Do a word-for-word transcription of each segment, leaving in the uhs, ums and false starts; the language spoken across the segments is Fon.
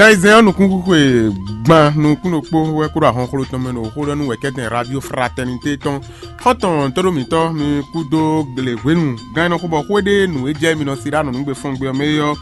Ayizɛ́n ɔ́ nukúnxwixwe gban nukúnnukpó wɛ kúɖo ahɔnxló tɔn mɛ ɖo xó ɖɔ nú wɛ̌kɛ́tɛn Radio Fraternité tɔn. Xɔ́ntɔn tóɖó mǐtɔn mi kúdó gle hwenu gán e nɔ xo bɔ xó e ɖe nǔ e jɛ mi nɔ sí ɖó anɔ̌nugbe fɔ́n gbé ɔ́ mɛ é ɔ́,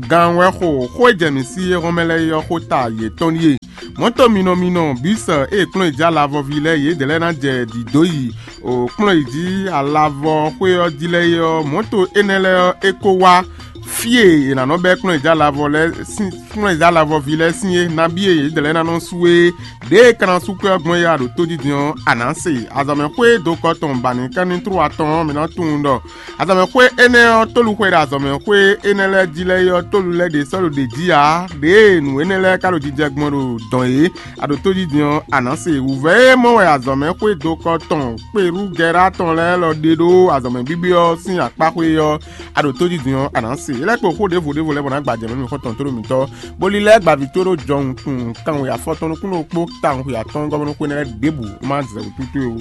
gan wɛ xo xó e jɛ mǐ sí é hɔn mɛ lɛ́ɛ é ɔ́ xó ta yětɔn ɖíe. Mɔ̌to minɔ minɔ bǐ sɔ ée kplɔ́n e jɛ alavɔví lɛ́ɛ yědɛɛ lɛ́ɛ ná jɛ dǐdó yi o kplɔ́n e jí alavɔ xwé ɔ́ jí lɛ́ɛ é ɔ́, mɔ̌to énɛ́ lɛ́ɛ ɔ́, é kó wá fí e è nǎ nɔ bɛ́ kplɔ́n e jɛ alavɔ lɛ́ɛ sín kplɔ́n e jɛ alavɔví lɛ́ɛ sín é, nabí e yědɛɛ lɛ́ɛ ná nɔ sú é, ɖěe é ka ná sú kwɛ́ ɔ́ gbɔn é a ɖo tójijin ɔ́, a nǎ se. Azɔ̌mɛxwé dokɔ tɔn ba nǐ ká ní tlú atɔn ɔ́, mi ná tunwun ɖɔ azɔ̌mɛxwé énɛ́ ɔ́, tóluxwɛ ɖo azɔ̌mɛxwé énɛ́ lɛ́ɛ jí lɛ́ɛ é ɔ́, tólu lɛ́ɛ ɖě sɔ́ ɖo ɖě jí ǎ. Ɖěe nǔ énɛ́ lɛ́ɛ ka ɖo jijɛ gbɔn ɖo dɔn é, a ɖo tójijin ɔ́, a nǎ se. Wǔvɛ́ e mɔ wɛ azɔ̌mɛxwé dokɔ tɔn Kperúgɛra tɔn lɛ́ɛ lɔ ɖe ɖó azɔ̌mɛ bíbí ɔ́ sín akpá xwé ɔ́, a ɖo tójijin ɔ́, a nǎ se. É lɛ́ kpo xó ɖěvo ɖěvo lɛ́ɛ bɔ ná gba jɛ mɛ nú xɔ́ntɔn tóɖó mǐtɔn, bó lílɛ́ gbaví tó ɖó jɔhun tunwun kanwe afɔtɔn nukúnnú kpó tawun xwe atɔ́ɔ́n gɔ́ bónú xwé nɛ́ lɛ́ɛ ɖěbǔ má zɛ wǔtútú é ó.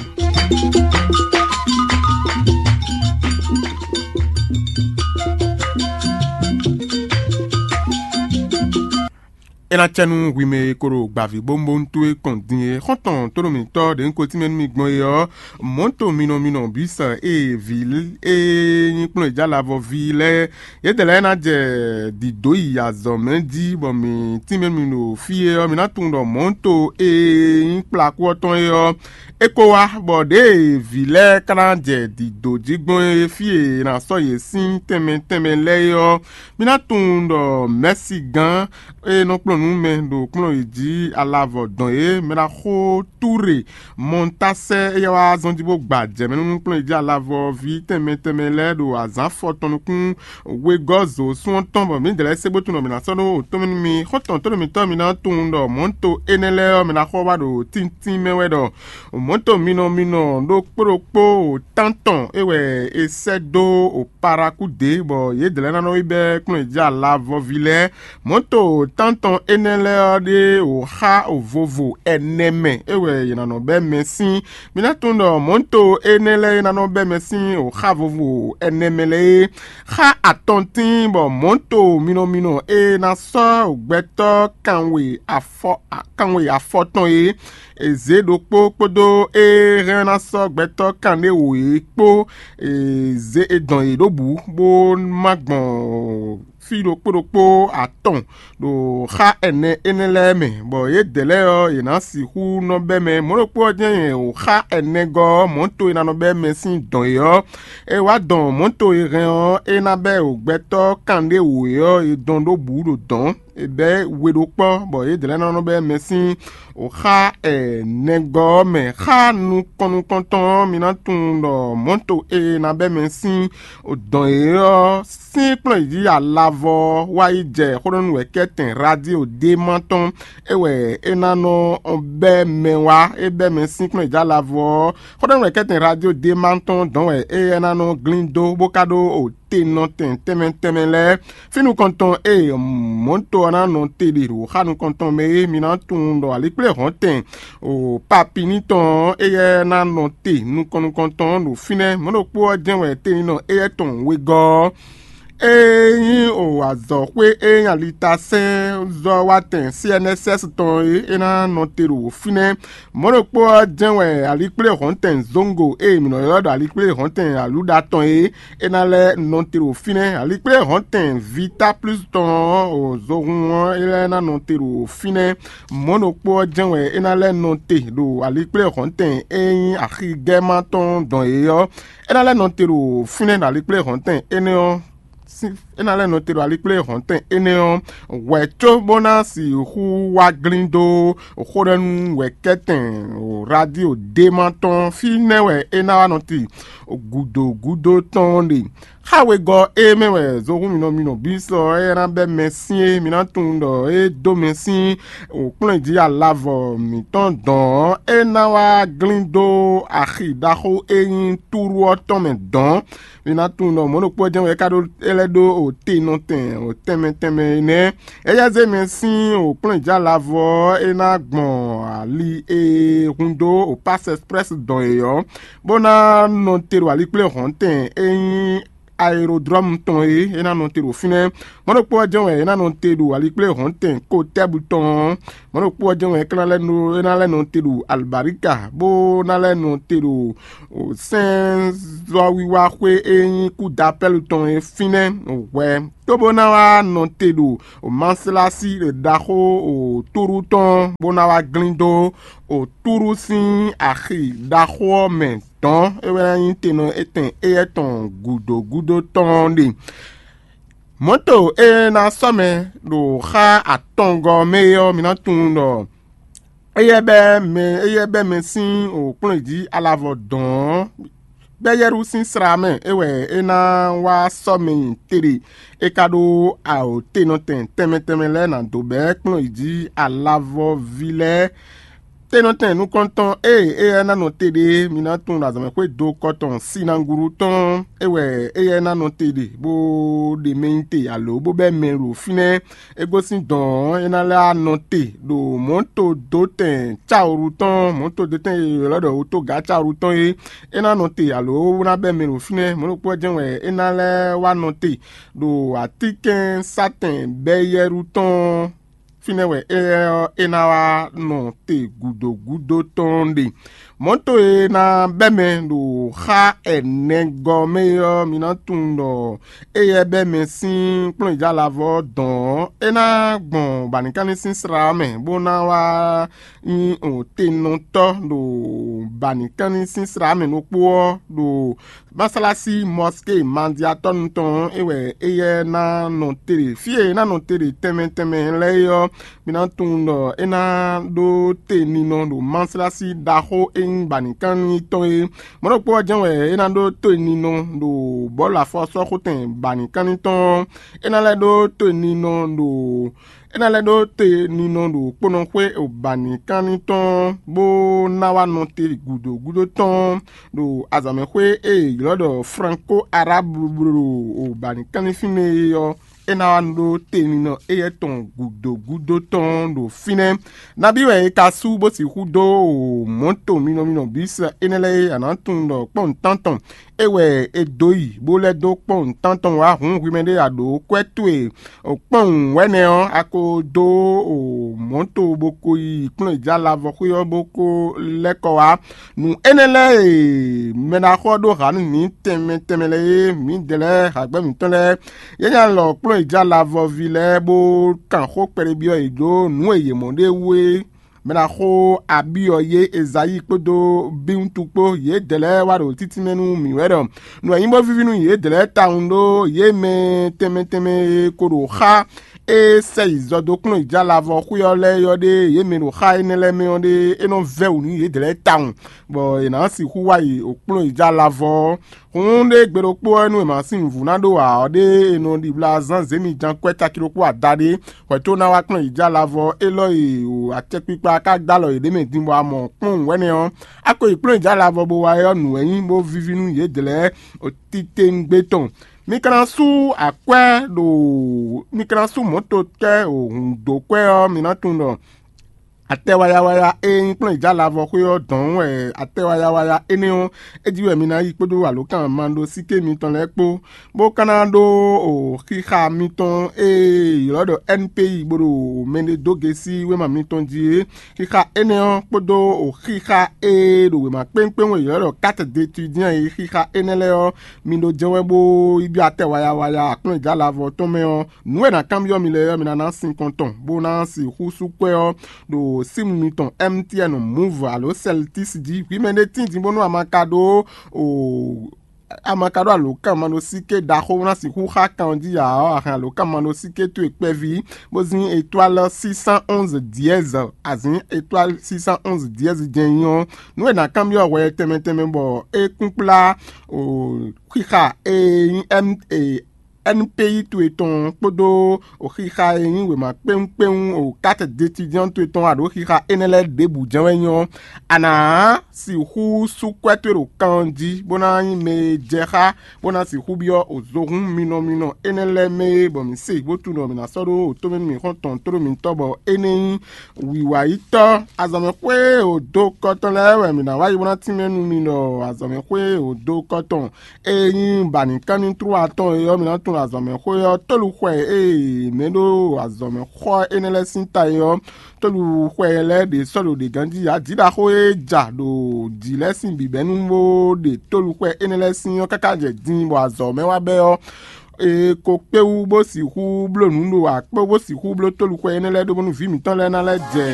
É ná cɛ nú hwi mɛ e ko ɖo gbavǐ bónbónú towe kɔn din é. Xɔ́ntɔn tónú mǐtɔn ɖě un ko tínmɛ nú mi gbɔn é ɔ́, mɔ̌to minɔ minɔ bǐ sɔ ée vǐ e nyí kplɔ́n e jɛ alavɔ ví lɛ́ɛ, yědɛɛ lɛ́ɛ ná jɛ dǐdó yi azɔ̌ mɛ jí, bɔ mǐ tínmɛ mi ɖo fí é ɔ́, mi ná tunwun ɖɔ mɔ̌to e nyí kplakú ɔ́ tɔn é ɔ́, é ko wá, bɔ ɖěe vǐ lɛ́ɛ ka ná jɛ dǐdó jí gbɔn é, fí e è nǎ sɔ́ yě sín tɛnmɛ tɛnmɛ lɛ́ɛ é ɔ́, mi ná tunwun ɖɔ mɛ̌si gán e nɔ kplɔ́n nǔ mɛ ɖo kplɔ́n yě jí alavɔ dɔn é, mɛ ná xo Túre, Mɔntasɛ́, éyɛ́ wá zɔ́n jí bó gba jɛ̌mɛ nú kplɔ́n yě jí alavɔ ví tɛnmɛ tɛnmɛ lɛ́ɛ ɖo azǎn afɔtɔn nukún wegɔ́ zo sún ɔ́ tɔn, bɔ mǐdɛɛ lɛ́ɛ se bó tunwun ɖɔ mǐ ná sɔ́ ɖó wǒtɔ́n mɛ nú mi. Xɔ́ntɔn tónú mǐtɔn mi ná tunwun ɖɔ mɔ̌to énɛ́ lɛ́ɛ ɔ́, mi ná xɔ wá ɖo tíntín mɛ wɛ ɖɔ mɔ̌to minɔ minɔ ɖokpó ɖokpó tántɔn é wɛ è sɛ́ dó Parakúdě, bɔ yědɛɛ lɛ́ɛ ná nɔ yi bɛ́ kplɔ́n yě jí alavɔví lɛ́ɛ. Mɔ̌to tántɔn énɛ́ lɛ́ɛ ɔ́ ɖe wǒ xá vovo ɛnɛ mɛ, é wɛ yě ná nɔ bɛ́ mɛ sín. Mi ná tunwun ɖɔ mɔ̌to énɛ́ lɛ́ɛ e ná nɔ bɛ́ mɛ sín wǒ xá vovo ɛnɛ mɛ lɛ́ɛ é, xá atɔntín, bɔ mɔ̌to minɔ minɔ e ná sɔ́ gbɛtɔ́ kanwe afɔ kanwe afɔtɔn é, è zě ɖokpó kpódó e hɛn ná sɔ́ gbɛtɔ́ kanɖéwǒ é kpó, è zě è dɔn yě ɖó bǔ, bó má gbɔn fí ɖokpó ɖokpó atɔn ɖo xá ɛnɛ énɛ́ lɛ́ɛ mɛ, bɔ yědɛɛ lɛ́ɛ ɔ́, yě ná sixú nɔ bɛ́ mɛ. Mɔ̌ ɖokpó ɔ́ jɛ́n nyɛ wǒ xá ɛnɛgɔ́ ɔ́, mɔ̌to e ná nɔ bɛ́ mɛ sín dɔn é ɔ́, è wá dɔn mɔ̌to e hɛn ɔ́, é ná bɛ́ wǒ gbɛtɔ́ kanɖéwǒ é ɔ́, è dɔn ɖó bǔ ɖo dɔ̌n. È bɛ̌ we ɖó kpɔ́, bɔ yědɛɛ lɛ́ɛ ná nɔ bɛ́ mɛ sín wǒ xá ɛnɛgɔ́ ɔ́ mɛ. Xá nukɔn nukɔntɔn ɔ́, mi ná tunwun ɖɔ mɔ̌to e ná bɛ́ mɛ sín dɔn é ɔ́ sín kplɔ́n yě jí alavɔ wá yi jɛ xó ɖɔ nú wɛ̌kɛ́tɛn radio ɖé ma tɔn, é wɛ é ná nɔ bɛ́ mɛ wá. É bɛ́ mɛ sín kplɔ́n yě jí alavɔ ɔ́, xó ɖɔ nú wɛ̌kɛ́tɛn radio ɖé ma tɔn dɔn wɛ éyɛ́ ná nɔ glín dó, bó ka ɖó te nɔtɛn tɛnmɛ tɛnmɛ lɛ́ɛ. Fí nukɔntɔn e mɔ̌to ɔ́ ná nɔ te ɖe ɖo xá nukɔntɔn mɛ é, mi ná tunwun ɖɔ alikpléhɔ̌ntɛn o papinítɔn ɔ́, éyɛ́ ná nɔ te nukɔn nukɔntɔn ɖo fínɛ́. Mɔ̌ ɖokpó ɔ́ jɛ́n wɛ teninɔ éyɛ́ tɔn wegɔ́ ɔ́, é nyí o azɔ̌xwé e nyí alitasɛ́nzɔ́watɛn C N S S tɔn é, é ná nɔ te ɖo fínɛ́. Mɔ̌ ɖokpó ɔ́ jɛ́n wɛ alikpléhɔ̌ntɛn Zongo e mǐ nɔ ylɔ́ ɖɔ alikpléhɔ̌ntɛn Aluɖa tɔn é, é ná lɛ́ nɔ te ɖo fínɛ́. Alikpléhɔ̌ntɛn Vita Plus tɔn ɔ́, o zohun ɔ́, é lɛ́ ná nɔ te ɖo fínɛ́. Mɔ̌ ɖokpó ɔ́ jɛ́n wɛ é ná lɛ́ nɔ te ɖo alikpléhɔ̌ntɛn e nyí axigɛ́ma tɔn dɔn é ɔ́, é ná lɛ́ nɔ te ɖo fínɛ́ ɖo alikpléhɔ̌ntɛn énɛ́ ɔ́ sín é ná lɛ́ nɔ te ɖo alikpléhɔ̌ntɛn énɛ́ ɔ́ hwɛ̌ có bó ná sixú wá glín dó xó ɖɔ nú wɛ̌kɛ́tɛn radio ɖé ma tɔn fínɛ́ wɛ é ná wá nɔ te gǔdo gúdo tɔn ɖe. Xá wegɔ́ é mɛ wɛ zohún minɔ minɔ bǐ sɔ é ná bɛ́ mɛ sín é, mi ná tunwun ɖɔ é dó mɛ sín wǒkplɔ́n jí alavɔ mǐtɔn dɔn ɔ́, é ná wá glín dó axi ɖaxó e nyí Túru ɔ́ tɔn mɛ dɔn. Mi ná tunwun ɖɔ mɔ̌ ɖokpó jɛ́n wɛ é ka ɖó é lɛ́ ɖó o te nɔtɛn o tɛnmɛ tɛnmɛ énɛ́. É yá zé mɛ sín o kplɔ́njǎ lavɔ ɔ́, é ná gbɔn ali e hun dó o Pass Express dɔn é ɔ́, bó ná nɔ te ɖo alikpléhɔ̌ntɛn e nyí aerodrɔmu tɔn e é ná nɔ te ɖo fínɛ́. Mɔ̌ ɖokpó ɔ́ jɛ́n wɛ é ná nɔ te ɖo alikpléhɔ̌ntɛn Kotɛ́bu tɔn ɔ́. Mɔ̌ ɖokpó ɔ́ jɛ́n wɛ é ná lɛ́ nɔ é ná lɛ́ nɔ te ɖo Albarika, bó ná lɛ́ nɔ te ɖo sɛ́nzɔ́wiwa xwé e nyí Kúdapɛ́lu tɔn é fínɛ́ hwɛ, cóbó ná wá nɔ te ɖo Maslasi ɖaxó Túɖú tɔn, bó ná wá glín dó Túɖú sín axi ɖaxó ɔ́ mɛ dɔ̌n. É wɛ ná nyí tenɔ etɛn éyɛ́ tɔn gǔdo gúdo tɔn ɔ́ ɖe. Mɔ̌to e ná sɔ́ mɛ ɖo xá atɔngɔ́ mɛ é ɔ́, mi ná tunwun ɖɔ éyɛ́ bɛ́ mɛ éyɛ́ bɛ́ mɛ sín wǒkplɔ́nyi jí alavɔ dɔ̌n ɔ́, bɛ́ Yɛ́rú sín slá mɛ é wɛ é ná wá sɔ́ mɛ nyi teɖe. É ka ɖó awǒtenɔtɛn tɛnmɛ tɛnmɛ lɛ́ɛ ná dó bɛ́ kplɔ́nyi jí alavɔví lɛ́ɛ. Tenɔtɛn nukɔntɔn e éyɛ́ ná nɔ te ɖe é, mi ná tunwun ɖo azɔ̌mɛxwé dokɔ tɔn Sinagulu tɔn é wɛ éyɛ́ ná nɔ te ɖe, bó ɖe mɛ nyi te alo bó bɛ́ mɛ ɖo fínɛ́. É gosín dɔ̌n ɔ́, é ná lɛ́ wá nɔ te ɖo mɔ̌to dó tɛn cáwǔɖu tɔn, mɔ̌to dó tɛn e è ylɔ́ ɖɔ wútogǎ cáwǔɖu tɔn é. É ná nɔ te alo ná bɛ́ mɛ ɖo fínɛ́. Mɔ̌ ɖokpó ɔ́ jɛ́n wɛ é ná lɛ́ wá nɔ te ɖo atínkɛ́nsátɛn Bɛ́yɛ́ɖu tɔn ɔ́. Fínɛ́ wɛ éyɛ́ ɔ́, é ná wá nɔ te gǔdo gúdo tɔn ɖe. Mɔ̌to e ná bɛ́ mɛ ɖo xá ɛnɛgɔ́ mɛ é ɔ́, mi ná tunwun ɖɔ éyɛ́ bɛ́ mɛ sín kplɔ́nyijálavɔ ɔ́ dɔn ɔ́, é ná gbɔn bǎnikánní sín slá ɔ́ mɛ, bó ná wá nyí tenɔtɔ́ ɖo bǎnikánní sín slá mɛ ɖokpó ɔ́ ɖo másálásí mɔské mandiatɔ́nu tɔn ɔ́, é wɛ éyɛ́ ná nɔ te ɖe. Fí e é ná nɔ te ɖe tɛnmɛ tɛnmɛ lɛ́ɛ é ɔ́, mi ná tunwun ɖɔ é ná ɖó te ninɔ ɖo másálásí ɖaxó e nyí bǎnikánní tɔn é. Mɔ̌ ɖokpó ɔ́ jɛ́n wɛ é ná ɖó te ninɔ ɖo bɔ̌lu afɔsɔ́xotɛn bǎnikánní tɔn ɔ́. É ná lɛ́ ɖó te ninɔ ɖo é ná lɛ́ ɖó te ninɔ ɖo kponɔxwé bǎnikánní tɔn ɔ́, bó ná wá nɔ te gǔdo gúdo tɔn ɖo azǎnmɛxwé e è ylɔ́ ɖɔ Franko Arábu ɖo bǎnikánní fínɛ́ é ɔ́, é ná wá ɖó te ninɔ éyɛ́ tɔn gǔdo gúdo tɔn ɖo fínɛ́. Nabí wɛ è ka sú bó sixú dó mɔ̌to minɔ minɔ bǐ sɛ énɛ́ lɛ́ɛ é? A nǎ tunwun ɖɔ kpɔ́nwun tántɔn é wɛ è dǒ yi, bó lɛ́ dó kpɔ́nwun tántɔn wá hǔn hwi mɛ ɖé a ɖǒ kwɛ́ towe kpɔ́nwun wɛ̌nɛ ɔ́, a ko dó mɔ̌to bó ko yi kplɔ́n è jǎ lavɔxwé ɔ́ bó ko lɛ́ kɔ wá. Nǔ énɛ́ lɛ́ɛ e mɛɖaxó ɔ́ ɖó hǎ nú mǐ tɛnmɛ tɛnmɛ lɛ́ɛ é, mǐdɛɛ lɛ́ɛ hǎgbɛ́ mǐtɔn lɛ́ɛ, yě nya lɔ kplɔ́n è jǎ lavɔví lɛ́ɛ bó kan xó kpɛɖé byɔ́ yě ɖó nǔ e yě mɔ ɖé wú é. Mɛɖaxó Abíɔ yé Ezayíi kpódó Bíwútu kpó, yědɛɛ lɛ́ɛ wá ɖo títínmɛ nú mǐ wɛ ɖɔ nǔ e nyí bó víví nú yědɛɛ lɛ́ɛ tawun ɖó yě mɛ tɛnmɛ tɛnmɛ e ko ɖo xá e sɛ yi zɔ dó kplɔ́n yi jǎ lavɔ xwé ɔ́ lɛ́ɛ ɔ́ ɖé, yě mɛ ɖo xá énɛ́ lɛ́ɛ mɛ ɔ́ ɖé, é nɔ vɛ́ wǔ nú yědɛɛ lɛ́ɛ tawun, bɔ è nǎ sixú wá yi ɖo kplɔ́n yi jǎ lavɔ ɔ́. Hǔn ɖé gbe ɖokpó ɔ́, nú è ma sín nǔvú ná ɖó ǎ ɔ́ ɖé, è nɔ ɖibla zán zěmijan kwɛ́ caki ɖokpó adaɖé, hwɛ̌ tó ná wá kplɔ́n yi jǎ lavɔ élɔ́ e o acɛkpikpa ka dó alɔ yěɖée mɛ din bɔ a mɔ kpɔ́n wɛ̌nɛ ɔ́, a ko yi kplɔ́n yi jǎ lavɔ bó wá é ɔ́, nǔ wɛ nyí bó víví nú yědɛɛ lɛ́ɛ titewungbe tɔn. Mi ka ná sú akwɛ́ ɖo mi ka ná sú mɔ̌to kɛ́ hǔn dó kwɛ́ ɔ́, mi ná tunwun ɖɔ atɛ wayawaya e nyí kplɔ́n yi jǎ lavɔ xwé ɔ́ dɔn wɛ atɛ wayawaya énɛ́ ɔ́, é jí wɛ mi ná yi kpódó alǒkanmaɖósíké mitɔn lɛ́ɛ kpó, bó ka ná ɖó o xixa mitɔn e è ylɔ́ ɖɔ N P I bó ɖo mɛɖé dó gěsí wěma mitɔn jí é. Xixa énɛ́ ɔ́ kpódó o xixa e ɖo wěma kpéŋkpéŋ e è ylɔ́ ɖɔ carte d'étudiant é, xixa énɛ́ lɛ́ɛ ɔ́, mi ɖó jɛ́n wɛ bó yi byɔ́ atɛ wayawaya akplɔ́njǎ lavɔ tɔn mɛ ɔ́, nǔ e è nǎ kanbyɔ́ mi lɛ́ɛ ɔ́, mi ná ná sinkɔn tɔn, bó ná sixú sú kwɛ́ ɔ́ ɖo símu mitɔn M T N, Moov alo Celtics jí. Hwi mɛ ɖé tíin din bónú a ma ka ɖó o a ma ka ɖó alǒkanmaɖósíké ɖaxó bó ná sixú xá kan ɔ́ jí ǎ ɔ́, a hɛn alǒkanmaɖósíké towe kpɛví, bó zín étoile six cent onze dièse, a zǐn étoile six cent onze dièse jɛ́n nyí ɔ́, nǔ e è nǎ kanbyɔ́ hwɛ tɛnmɛ tɛnmɛ bɔ é kúnkplá o xixa e nyí M E N P I towe tɔn kpódó xixa e nyí wěma kpéwúnkpéwún o carte d'étudiant towe tɔn aɖǒ xixa énɛ́ lɛ́ɛ ɖěbǔ jɛ́n wɛ nyí ɔ́, a nǎ sixú sú kwɛ́ towe ɖo kan ɔ́ jí, bó ná nyí mɛ e jɛ xá, bó ná sixú byɔ́ o zohún minɔ minɔ énɛ́ lɛ́ɛ mɛ é, bɔ mǐ se bó tunwun ɖɔ mǐ ná sɔ́ ɖó o tómɛnú mǐxɔ́ntɔn tóɖó mitɔ́, bɔ énɛ́ nyí wǐwayítɔ́. Azɔ̌mɛxwé e o dó kɔ tɔn lɛ́ɛ wɛ mǐ ná wá yi bó ná tínmɛ nú mi ɖɔ azɔ̌mɛxwé e o dó kɔ tɔn e nyí bǎnǐkanní tlú atɔn é ɔ́, mi ná tunwun azɔ̌mɛxwé ɔ́, tóluxwɛ e mɛ ɖó azɔ̌mɛxɔ énɛ́ lɛ́ɛ sín ta é ɔ́, tóluxwɛ lɛ́ɛ ɖě sɔ́ ɖo ɖě ganjí. Ají ɖaxó e ja ɖo jǐ lɛ́ɛ sín bǐbɛ́nu bó ɖe tóluxwɛ énɛ́ lɛ́ɛ sín ɔ́ káká jɛ din bɔ azɔ̌ mɛ wá bɛ́ ɔ́, è ko kpé wú bó sixú bló nǔ ɖo akpó bó sixú bló tóluxwɛ énɛ́ lɛ́ɛ ɖó bónú vǐ mǐtɔn lɛ́ɛ ná lɛ́ jɛ